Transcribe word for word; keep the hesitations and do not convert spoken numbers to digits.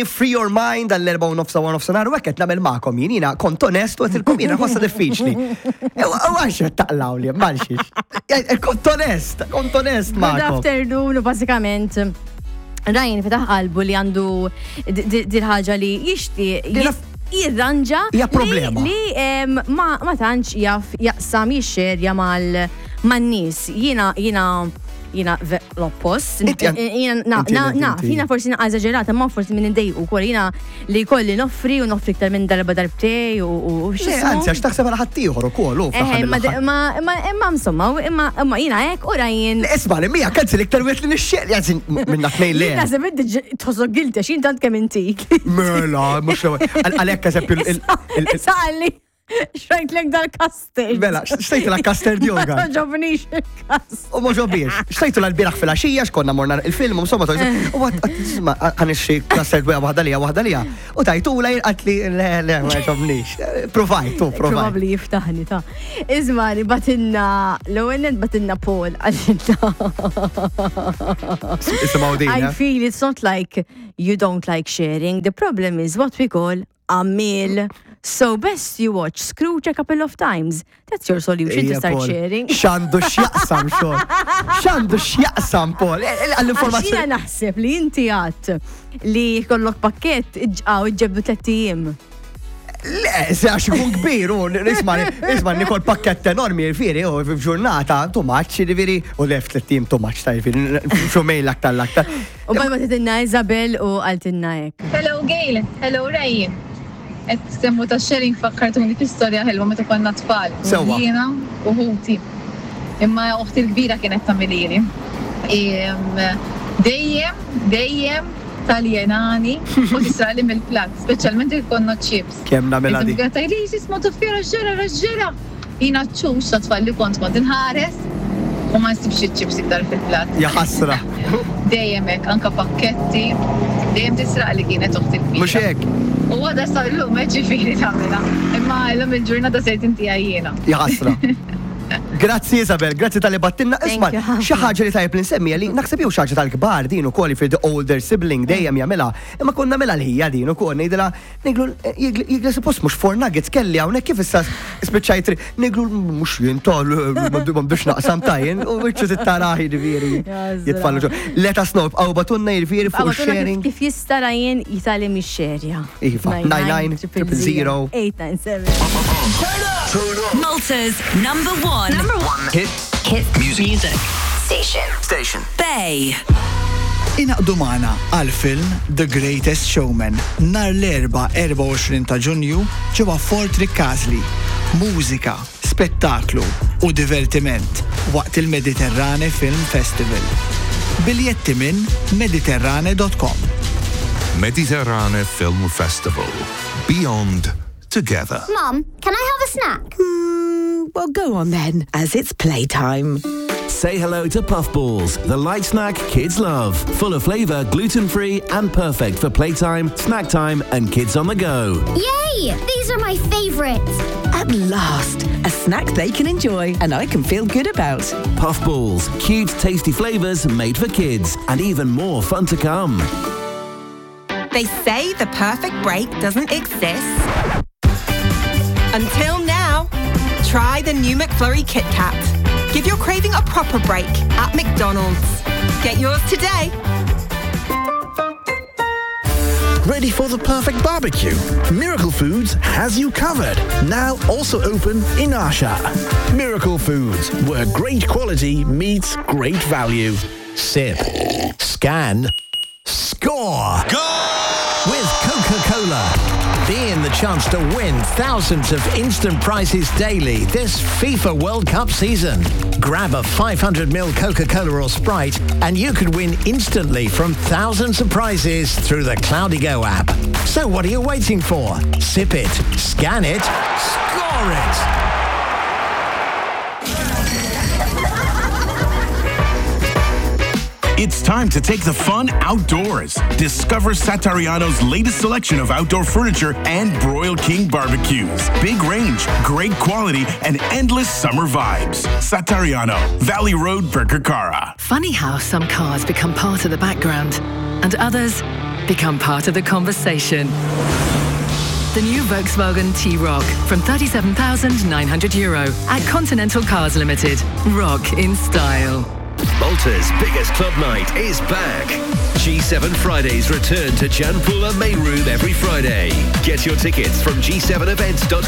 Free your mind għall-erbgħa u nofs u nofsinhar u hekk qed nagħmel magħkom jien jiena kont onest u għedtilkom jiena ħossa diffiċli. U għax qed taqlaw li malxiex. Kont onest, kont onest Good magħkom. Afternoon, u basikament Ryan fetaħ qalbu li għandu dil-ħaġa li jixtieq Dina- jirranġa Hija problema. li em, ma ma tantx jaf jaqsam jixxerja mal man-nies. Jiena jiena jiena ve- l-oppost. Inti għan- Jiena na- inti- na- inti- naf, inti. jiena forsi naqa eżaġerata, ma forsi minn indejqu wkoll jiena li kolli noffri u noffri iktar minn darba darbtej u u Le, x'ismu. anzi, għax taħseb għal ħaddieħor ukoll, u Eħe, fl-aħħar ma mill-aħħar. ma ma imma insomma, u imma imma jiena hekk u Ryan. Isma' li mija kanzi l-iktar wieħed li nixxieq, anzi minna tnejn le. Naħseb inti tħossok guilty għax jien tant kemm intik. Mela, mhux l-ewwel. Għalhekk eżempju il- il- Issa għalli, xrajtlek dal-custard. Mela, xtrajtu la custard Ma yogurt. toġobnix il-custard. U ma ġobiex. Xtrajtu l-bieraħ fil-għaxija, xkonna morna il-film, insomma, u għat, ħa nixtri custard waħda lija, waħda lija. U tajtu la għatli, le, le, ma ġobnix. Provajt, tu, provajt. Probabli jiftaħni ta' Iżmani, bagħtilna, l-ewwel bagħtilna Paul għalilna. Isimgħu din, I eh? feel it's not like you don't like sharing. The problem is what we call a meal. So best you watch Scrooge a couple of times. That's your solution to Ija, start Paul. sharing. X'għandu x'jaqsam xogħol. X'għandu x'jaqsam, Paul. Eh, eh, Għax jiena Għall-informazzjoni. naħseb li inti għat li kollok pakket iġqaw iġġebdu tlett ijiem. Le, se għax ikun kbir, u isma, isma, nikol pakket enormi, jiġifieri, u f'ġurnata, too much, jiġifieri, u lef tlett ijiem too much, ta' jiġifieri, xumejn l-aktar l-aktar. U bad bagħtitilna Isabel u qaltilna hekk. Hello Gail, hello Ray. Et semmu ta' sharing fakkartuni fi storja ħelwa meta konna tfal. Sewwa. Jiena u ħuti. Imma uħti l-kbira kienet tagħmilhieli. Dejjem, dejjem taljenani u tisraqli mill-plat, speċjalment jekk konna chips. Kemm nagħmilha di. Kienet tgħidli jisma tuffiera ġera ġera. Jiena ċux ta' tfal li kont kont inħares u ma nsibx iċ-chips iktar fil-plat. Ja ħasra. Dejjem hekk, anka pakketti, dejjem tisraq li kienet uħti l-kbira. Mhux hekk. U għada sa l-lum ġifieri tagħmilha. Imma l-lum il-ġurnata sejt inti għajjena. Ja ħasra. Grazzi Isabel, grazzi talli bgħattilna. Thank Isma, you, ħafna. xi ħaġa li tajjeb li nsemmija li naħseb jew xi ħaġa tal-kbar din ukoll fi the older sibling dejjem jagħmilha, imma konna nagħmilha li hija din ukoll ngħidilha ngħidlu jigli suppost mhux four nuggets kelli hawnhekk kif issa spiċċajt ngħidlu mhux jien tal m'għandux naqsam tajjin u wiċċu tittaraħ jiġifieri jitfallu ġo. Let us know, għaw bagħtulna jiġifieri fuq sharing. Kif jista' Ryan jitgħallem jixxerja. Iva, nine nine triple zero. eight nine seven. Malta's number one. Number one. Hit Hit music. music. Station. Station. Bay. Ingħaqdu magħna għal film The Greatest Showman nhar l-Erbgħa erbgħa u għoxrin ta' Ġunju ġewwa Fort Ricasoli. Mużika, spettaklu u divertiment waqt il-Mediterrane Film Festival. Biljetti minn mediterrane punt com. Mediterrane Film Festival. Beyond Together. Mum, can I have a snack? Mm, well, go on then, as it's playtime. Say hello to Puffballs, the light snack kids love. Full of flavour, gluten-free and perfect for playtime, snack time and kids on the go. Yay! These are my favourites. At last, a snack they can enjoy and I can feel good about. Puffballs, cute, tasty flavours made for kids and even more fun to come. They say the perfect break doesn't exist. Until now, try the new McFlurry Kit Kat. Give your craving a proper break at McDonald's. Get yours today. Ready for the perfect barbecue? Miracle Foods has you covered. Now also open in Għaxaq. Miracle Foods, where great quality meets great value. Sip, scan, score! Go! With Coca-Cola. Be in the chance to win thousands of instant prizes daily this FIFA World Cup season. Grab a five hundred milliliter Coca-Cola or Sprite and you could win instantly from thousands of prizes through the Cloudigo app. So what are you waiting for? Sip it, scan it, score it! It's time to take the fun outdoors. Discover Satariano's latest selection of outdoor furniture and Broil King barbecues. Big range, great quality, and endless summer vibes. Satariano, Valley Road, Birkirkara. Funny how some cars become part of the background and others Become part of the conversation. The new Volkswagen T-Roc from thirty-seven thousand nine hundred euro at Continental Cars Limited. Rock in style. Malta's biggest club night is back. G seven Fridays return to Gianpula Main Room every Friday. Get your tickets from G seven events dot com.